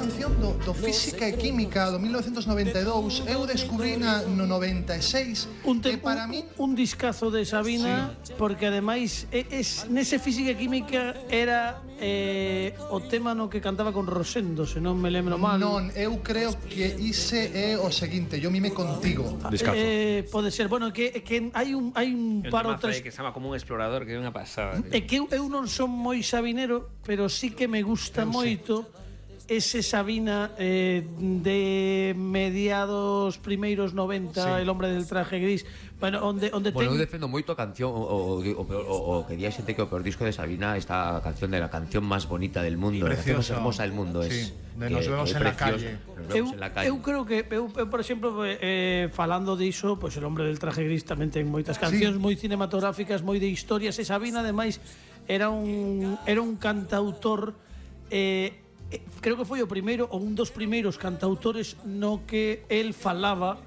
canción do Física e Química do 1992. Eu descubrina no 96 e para min un discazo de Sabina, porque ademais nese Física e Química era o tema no que cantaba con Rosendo, se non me lembro mal. Non, eu creo que ise é o seguinte, Yo mime contigo. Discazo. Pode ser, bueno, que hai un par ou tres que se chama Como un explorador, que é unha pasada. É que eu non son moi sabinero, pero sí que me gusta moito ese Sabina de mediados primeiros 90, El hombre del traje gris. Bueno, onde eu defendo moito a canción o que di a xente que o peor disco de Sabina, esta canción de la canción más bonita del mundo, la canción más hermosa del mundo, sí, de Nos vemos en la calle. Eu creo que eu por exemplo, falando diso, pois El hombre del traje gris tamén ten moitas cancións moi cinematográficas, moi de historias, e Sabina ademais era un cantautor creo que foi o primeiro ou un dos primeiros cantautores no que el falaba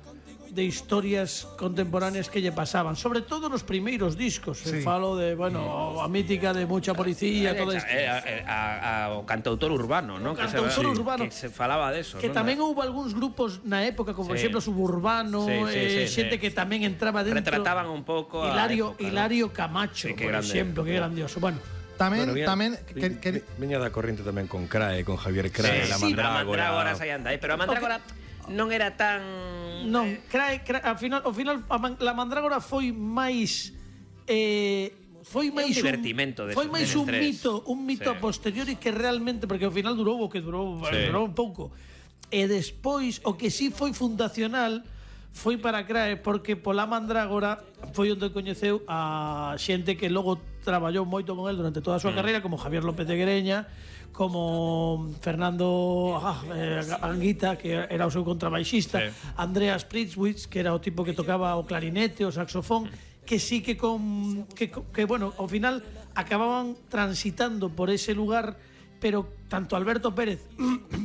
de historias contemporáneas que lle pasaban, sobre todo nos primeiros discos. Falo de, bueno, a mítica de Mucha Policía, todo isto. O cantautor urbano, ¿no? Cantautor urbano. Que se falaba de eso. Que tamén houve algúns grupos na época, como por exemplo Suburbano, xente que tamén entraba dentro. Retrataban un pouco Hilario Camacho, por exemplo, que grandioso. Bueno, Tamén viña da corriente tamén con Crae, con Javier Crae, la Mandrágora. A Mandrágora aí anda, pero a Mandrágora non era tan... Non, Crae, ao final la Mandrágora foi máis un divertimento de foi máis un mito a posteriori que realmente, porque ao final durou un pouco. E despois o que sí foi fundacional foi para Crae, porque pola Mandrágora foi onde coñeceu a xente que logo traballou moito con el durante toda a súa carreira, como Javier López de Guereña, como Fernando Anguita, que era o seu contrabaixista, Andreas Pritzwitz, que era o tipo que tocaba o clarinete, o saxofón, que sí que bueno, ao final acababan transitando por ese lugar, pero tanto Alberto Pérez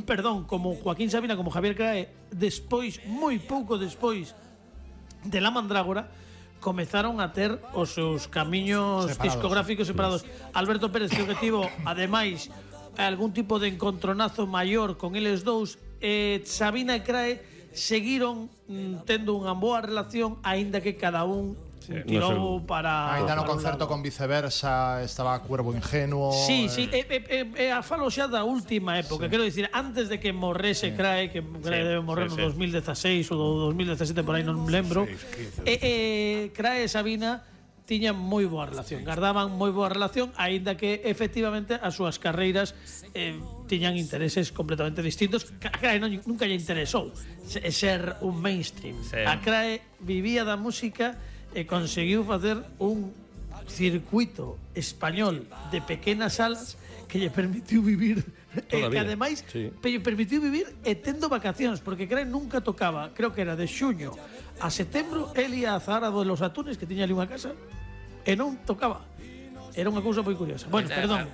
perdón, como Joaquín Sabina, como Javier Crae, despois, moi pouco despois de La Mandrágora, comezaron a ter os seus camiños discográficos separados. Alberto Pérez creo que tivo, ademais, algún tipo de encontronazo maior con eles dous. Sabina e Crae seguiron tendo unha boa relación, aínda que cada un tirou para... Ainda no concerto con Viceversa estaba Cuervo Ingenuo. Sí, falo xa da última época, quero dicir, antes de que morrese Crae, que Crae debe morrer no 2016 ou 2017, por aí non me lembro. Crae e Sabina tiñan moi boa relación, gardaban moi boa relación, aínda que efectivamente as súas carreiras tiñan intereses completamente distintos. A Crae nunca lle interesou ser un mainstream. A Crae vivía da música e conseguiu facer un circuito español de pequenas salas que lle permitiu vivir que ademais lle permitiu vivir e tendo vacacións, porque Crae nunca tocaba, creo que era de xuño a setembro, el ia a Zahara de los Atunes, que tiña ali unha casa, e non tocaba. Era unha cousa moi curiosa. Bueno, perdón.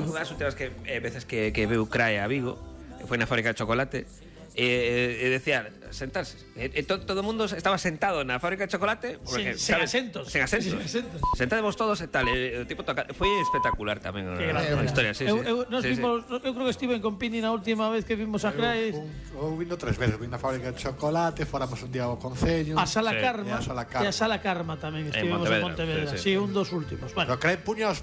Unha das últimas veces que veu Crae a Vigo foi na fábrica de chocolate e decía sentarse, todo o mundo estaba sentado na fábrica de chocolate sen asentos. Sentademos todos e tal, o tipo toca, foi espectacular tamén a historia. Eu creo que estive con Pini na última vez que vimos a Crae. Eu vino 3 veces, vim na fábrica de chocolate, fóramos un día ao Concello, a Sala Karma, e a Sala Karma tamén estivemos en Pontevedra. Sí, un dos últimos. Bueno, Crae puña os